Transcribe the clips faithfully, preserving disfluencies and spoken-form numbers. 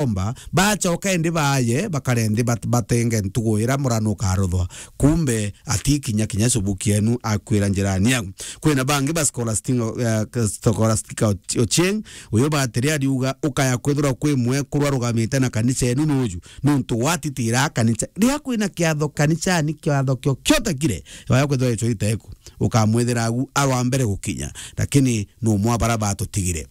omba, bacoka indi baaye, bakare nthi bat-, batenge ntugu ira murano ukaruthwa. Kumbe atikinya kinya cubuki enu akwira njirani yau. Kwina bangi ba Scholastic-, eh, Scholastica Ochieng, uyu batiri ariuga, ukaya kwithirwa kwi mwekuru arugamite na kanisa enu nuju, nuntu watitira kanisa. Riria kwina kiatho kanisani, kiatho kio kiotakire, waya kwithirwa icho iteku, ukamwithira agu arwa mbere gukinya, lakini numwa bara batutigire.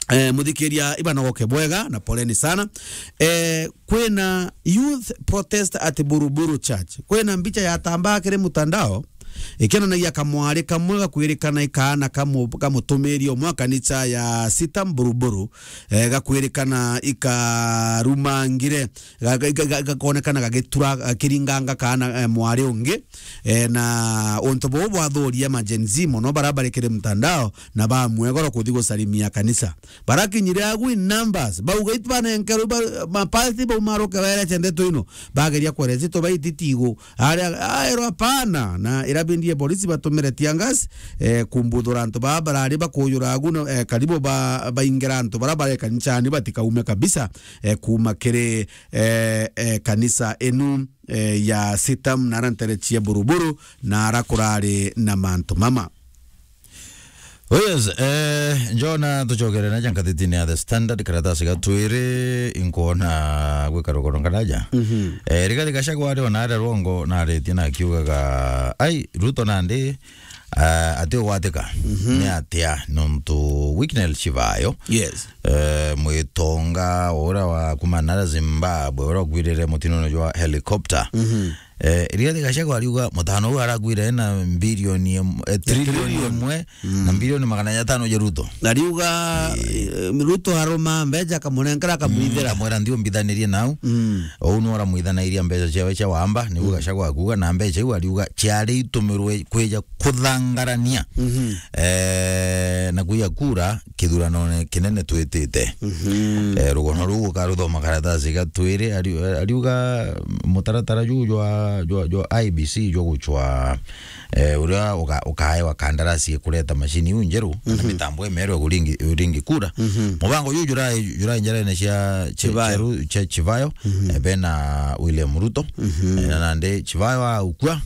Eh, muthikiria, ibanogoke bwega na poleni sana. Eh, kwina youth protest at Buruburu Church. Kwina mbicha yatambaa kiri mutandao, ikionanagia kamwari kamwe gakwirikana ikaana kamu-, kamutumiri umwe wa kanisa ya Sitam Buruburu, eh, gakwirikana ikarumangire, ga-, ga-, ga-, ga-, gakonekana gagitura, gakiringanga kaana, eh, mwari ungi. Eh, na untu buu bwathuria ma Gen Z mono bara bari kiri mtandao, na bamwegoro kuthi gusalimia kanisa. Barakinyire agu in numbers, bauga, "Itu banenkerwe ba-, mapasi baumaruke baerece ndeto ino." Bageria kwereci tubaiti tigu. Aria, aerwa, "Hapana." Na irabindie polisi batumire tear gas, eh, kumbuthura antu baa barari bakujura agu na, eh, karibu ba-, baingira antu bara bare kanisani batikaume kabisa, eh, kuma kiri, eh, eh, kanisa inu, eh, ya Sitam na ara ntere cia Buruburu na ara kurari na mantu mama. Oh yes, eh, Jona, tucokere na ja ngathitini ya The Standard, karatasi ga twiri, inkwona gwika rugoro ngaraja. Mhm. Eh, Rigathi Gachagua ari ona aria rwongo naritie na akiugaga, ai, Ruto nandi, ah, ati ugwatika. Mhm. Ni atia nontu weakness cibayo? Yes. Eh, mwitonga uria wa kuma nara Zimbabwe, uria ukwirire mutinone jwa helicopter. Mhm. Eh, Rigathi Gachagua ariuga mutano uu arakwire ena bilioni em-, eh, trilioni trilioni. Imwe na bilioni magana atano ja Ruto. Ariuga, eh, Ruto aruma mbeca akamunenkera, akamwithira. Mm, akamwira, "Nthi umbithanirie nau." Mm. Uu niwe uramwithanairia mbeca ciawe cia wamba, niu Gachagua akuuga, na mbeca iu ariuga ciari itumirwe kwija kuthangarania. Mhm. Eh, na kuiya kura kithuranone kinene twitite. Mhm. Eh, rugono ruu ukaruthoma karatasi ga twiri, ari-, ariuga mutaratara juu jwa, jwa, jwa I E B C jwa gucwa, eh, uria uka-, ukaewa kandarasi kureta mashini iu njeru, kana mitambo imeru ya kuringi-, uringi kura. Mhm. Mubango juu jurai, jurai njarene cia, cia, Chivayo. Cia ru-, cia Chivayo, eh, bena William Ruto. Mhm. Eh, na nandi Chivayo aukua,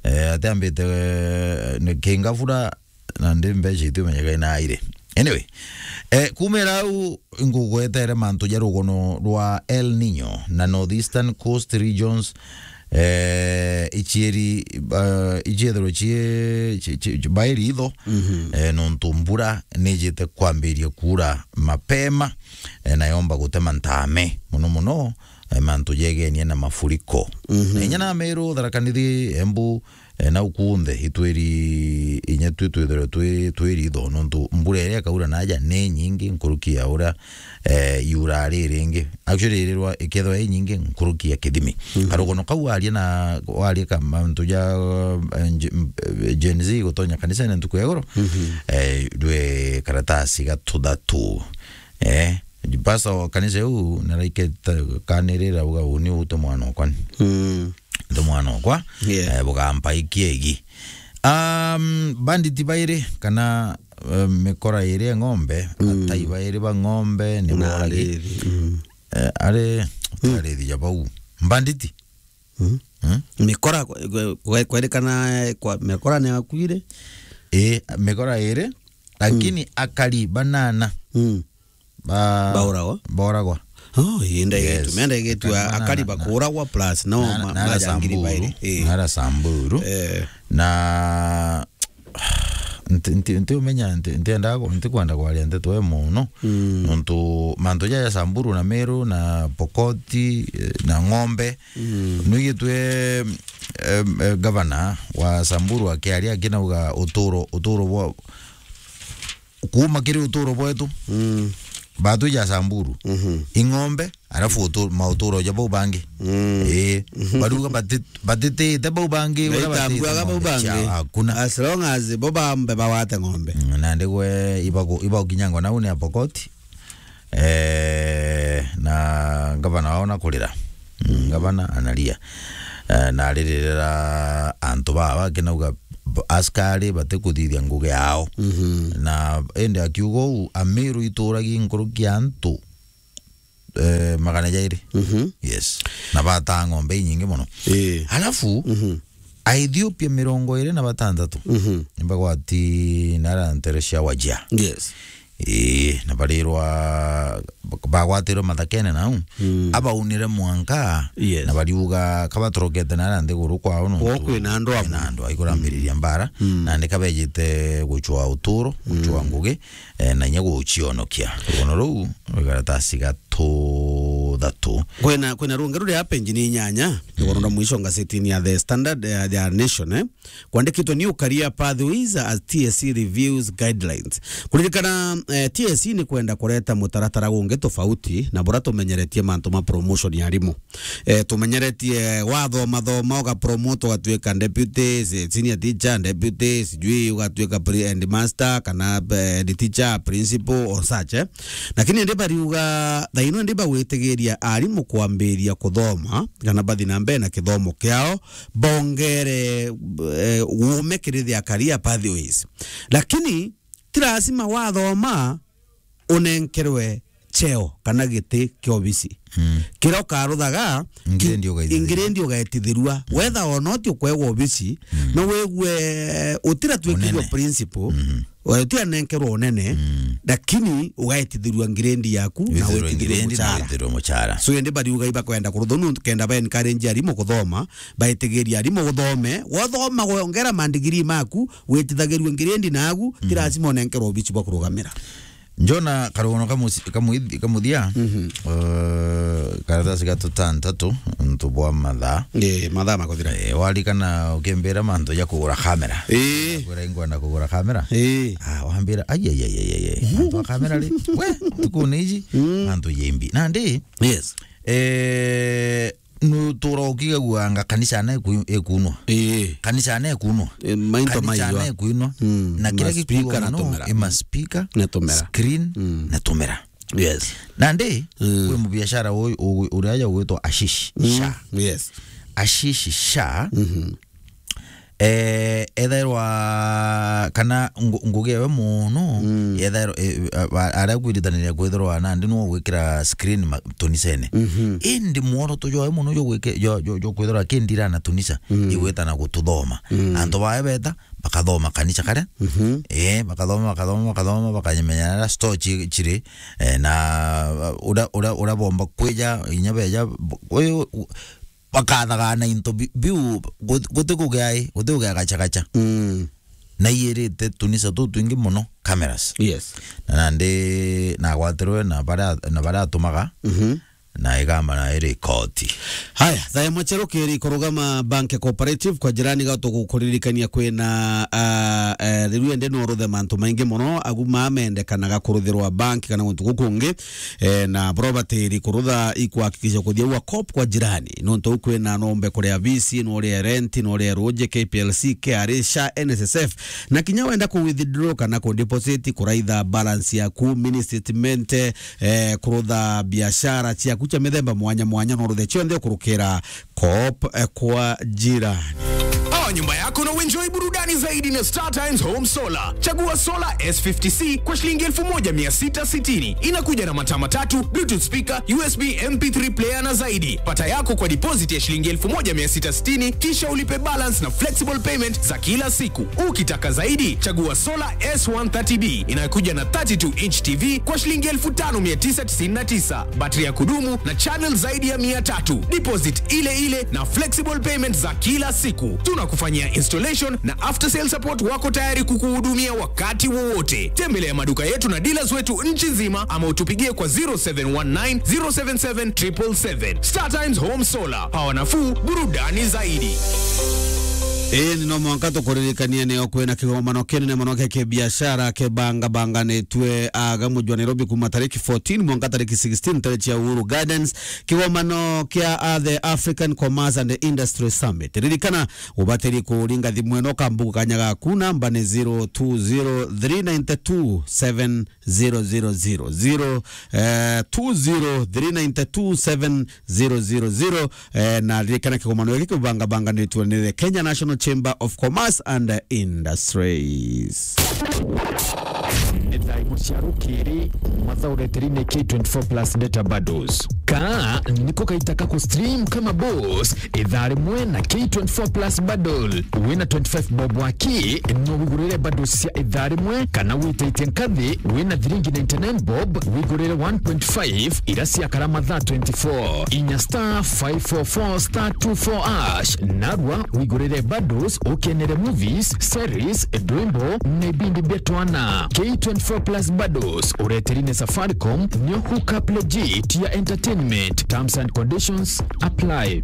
eh, atiambite, eh, ni kingabura, na ndi mbeca itiumenyeka ina aire. Anyway, eh, kumira au ngugwetere mantu ja rugono rwa El Nino na Northeastern Coast Regions, eh, ichieri, eh, ichiethirwe chie, chi-, chi-, chi-, bairi itho, eh, nontu mbura nijite kwambiria kuura mapema, eh, na yomba gutema ntame, muno muno, eh, mantu jegenie na mafuriko. Mhm. Na inya na Meru, Tharaka Nithi, Embu, eh, nau kunthe itwiri, inya twi twithirwe twi, twi ritho, nontu mbura iria ikaura naja ni nyingi nkuruki ya uria, eh, yura ri ringi. Actually, irirwa ikethirwa i nyingi nkuruki ya kithimi. Mhm. Karugono kau waria na, waria ka mantu ja, eh, Gen-, Gen Z gutonya kanisene ntuku ya igoro, mhm, eh, rwe karatasi ga tuthatu. Eh, Pastor wa kanisa iu naraiketa kanirira, uga, "Uni ute mwana okwa ni." Mm. Ute mwana okwa, yeah, eh, bugampa ikiegi. Um, banditi bairi kana, eh, mikora iri ya ng'ombe, mm, atai bairi ba ng'ombe ni na boragi. Arithi, mm. Eh, ari, mm, arithi ja bau. Banditi. Mm. Mm? Mikora kwe-, kwe-, kwe-, kwerikana kwa mikora ni akuire? Ii, mikora iri, lakini, mm, akari banana, mm, ba-, bauragwa. Bauragwa. Oh, ii, ndaigetu, yes, menda igetu akari banana, akari bakuragwa plus no na, ma-, na ara majangiri Samburu, bairi. Ii. Na ara Samburu. Eh. Na nti-, nti-, ntiumenya, nti-, ntiendaga ku-, ntikwenda kwaria nteto e mono. Mm. Nontu mantu jaja Samburu na Meru na Pokoti, eh, na ng'ombe, mm, nwigitwe, em, eh, gavana wa Samburu akiaria akinauga uturo, uturo bwa, kuuma kiri uturo bwetu, mm, batu ja Samburu, mhm, ing'ombe, arafu utu-, mauturo ja bau bangi. Mm. Ii. Mhm. Baruga bati-, batitite bau bangi, uria batitite ng'ombe bau bangi. Cia, hakuna. As long as bo bambe bawate ng'ombe. Mm, na ndigwe ibagu-, ibagukinyangwa nau ni Apokoti. Eh, na ngavana wao na kurira. Mm, ngavana analia. Eh, na aririra antu baa bakinauga b-, askari batikuthithia ngugi yao. Mhm. Na indi akiuga uu, Amiru ituragi nkuruki ya antu eh, magana jairi. Mhm. Yes. Na bataa ng'ombe inyingi mono. Ii. Alafu, Mhm. Aethiopia mirongo iri na batantatu Mhm. nibagwati nara ntere cia Wajir. Yes. Ii, na barirwa, bagwatirwe mathakene nau. Mm. Abaunire mwanka, Yes. na bariuga, kabatorokete nara nthiguru kwao nontu Kwao kwina andu amwe. kwina andu aikurambiriria mbara, Mm. na ndika bejite gucwa uturo, gucwa Mm. ngugi, eh, na inya gucionokia. Rugono ruu, rwikaratasi gatuthatu. Kwina, kwina rungi ruri hapa injini inyanya, Mm. rugono rwa mwisho ngazetini ya The Standard, eh, ya Nation, eh. Kwandikitwe, "New career pathways as T S C reviews guidelines." Kuririkana, eh, T S C ni kwenda kureta mutaratara gungi tofauti na bura tumenyeretie mantu ma promotion ya arimu. Eh, tumenyeretie wathoma thoma ugapromote ugatuika deputy, se-, senior teacher, deputy, sijui ugatuika pre-, headmaster kana, eh, head teacher, principal or such, eh. Lakini ndi bariuga, thaino ndi bagwitigiria arimu kwambiria kuthoma kana bathi na mbere na kithomo kiao, bongere, eh, uume kiri their career pathways. Lakini ti lazima wathoma unenkerwe cheo kana giti kia obisi. Mm. Kiria ukaruthaga, Ngirendi ugaitithirua. ngirendi ugaitithirua. Mm. Wetha ona uti ukwegwa obisi, Mm. no wigue utira twikirwe Unene. principal, Mhm. Wewe ti anenkerwa unene, Mm. lakini ugaetithirua ngirendi yaku na Withirwe wetithirwe ngirendi na muchara. withirwe muchara. So, indi bariuga ibakwenda kurutha nuntu kenda ba encourage arimu kuthoma, baetigiria arimu guthome, wathoma wongera mandigiri maku, wetithagirue ngirendi nagu, ti Mm. lazima unenkerwa obici bwa kurugamira. Njona karugono kamusi-, kamuithi-, kamuthia, Mhm. eh, karatasi ga tutantatu, ntu bwa mathaa. Ii, mathaa makuthira. Eh, warikana ukimbira mantu ja kugura kamera. Ii. Kwira ingwenda kugura kamera. Ii. Ah, wambira, ai, ai, ai, ai, ai, ai. Mantu a kamera ri? We, tukune iji, Mm. mantu jembi. Nandi, Yes. eh, nutura ukigagua anga kanisa na iku-, ikunwa. Ii. Kanisa na ikunwa. Eh, mainto Kanisa maiwa. na ikunwa. Mm. Na kira Maspika gikuwa na muno, tumera. i maspika, Na tumera. screen, Mm. na tumera. Yes. Nandi, Mm. kwi mubiashara uyu, u-, uria aja ugwitwa Ashish Mm. Shah. Yes. Ashish Shah, Mhm. eh, ethairwa kana ngu-, ngugi ewe muno, Mm. ethairwa, eh, a-, a-, aria kwiritaniria kwithirwa nandi niwe ugwikira screen ma-, tunisene. Mhm. Indi mworoto jwawe muno jwa gwike-, jwa, jwa, jwa kwithirwa akindira na tunisa, Mm. igwita na gututhoma. Mm. Antu bawe beta, bakathoma kanisa karia. Mhm. Eh, bakathoma, bakathoma, bakathoma, bakanyemenya na store ci-, ciri, eh, na, uh, uria, uria, uria bomba kwija, inya beja, b-, uyu, u-, bakathaga na into bi-, biu, gut-, guti kugia i, guti kugia gacha gacha. Mm. Na iyirite tunisa tu twingi muno, cameras. Yes. Na nandi nagwatirwe na baria, na baria atumaga. Mhm. Na igamba na iri koti. Haya, thaa imwe cia rukiri kurugama Bank Cooperative kwa jirani ga tugukuririkania kwina, ah, eh, riu ende no ruthe mantu maingi muno, agu mamendekanaga kuruthirwa bank kana guntu gukungi, eh, na property iri kurutha ikwakikisha kuthia ua cop kwa jirani. Nontu u kwina nombe kuria visi, no ria rent, no ria ruji, K P L C, K R A, sha, N S S F. Na kinya wenda ku withdraw kana ku deposit, kuraitha balance yaku, mini statement, eh, kurutha biashara ciaku cia mithemba mwanya mwanya, no ruthe cionthe ukurukira Coop, eh, kwa jirani. Oa nyumba yako na uenjoy burudani zaidi na Star Times Home Solar. Chagua Solar S fifty C kwa shilingi elfu moja mia sita sitini. Inakuja na mataa matatu, Bluetooth speaker, U S B M P three player na zaidi. Pata yako kwa deposit ya shilingi elfu moja mia sita sitini, kisha ulipe balance na flexible payment za kila siku. Ukitaka zaidi, chagua Solar S one thirty B inayokuja na thirty-two inch T V kwa shilingi elfu tano mia tisa tisini na tisa, battery ya kudumu na channel zaidi ya mia tatu. Deposit ile ile na flexible payment za kila siku. Tunakufanyia installation na after sale support, wako tayari kukuhudumia wakati wowote. Tembelea maduka yetu na dealers wetu nchi nzima ama utupigie kwa zero seven one nine, zero seven seven, triple seven. Star Times Home Solar. Power nafuu, burudani zaidi. Ii, ni no mwanka tukuririkanie nio kwina kigomano kinene mono kia kibiashara kibangabanganitue aga muji wa Nairobi kuma tariki fourteen mwanka tariki sixteen, tariki ya Uhuru Gardens, kigomano kia, ah, the African Commerce and Industry Summit. Ririkana, ubatiri kuringa thimu ino kambugu kanya gaku, namba ni zero two zero three nine two seven zero zero zero zero, eh, two zero three nine two seven zero zero zero, eh, na ririkana kigomano giki kibangabanganitwe ni the Kenya National Chamber of Commerce and Industries. Nĩ thaa imwe cia rukiri, mathaa ureterine K twenty-four plus data bundles. Kaa niko kaita ka ku stream kama boss, ithaa rimwe na K twenty-four plus bundle. Wina twenty-five bob waki, no wigurire bundles cia ithaa rimwe, kana witaitie nkathi, wina thiringi ninety-nine bob, wigurire one point five, ira ciakara mathaa twenty-four. Inya star five four four star two four hash, narua wigurire bundles, ukenere movies, series, ndwimbo, na ibindi bia twana. K twenty-four plus bundles, ureterine Safaricom, nio hook up legit ya entertainment. Terms and conditions apply.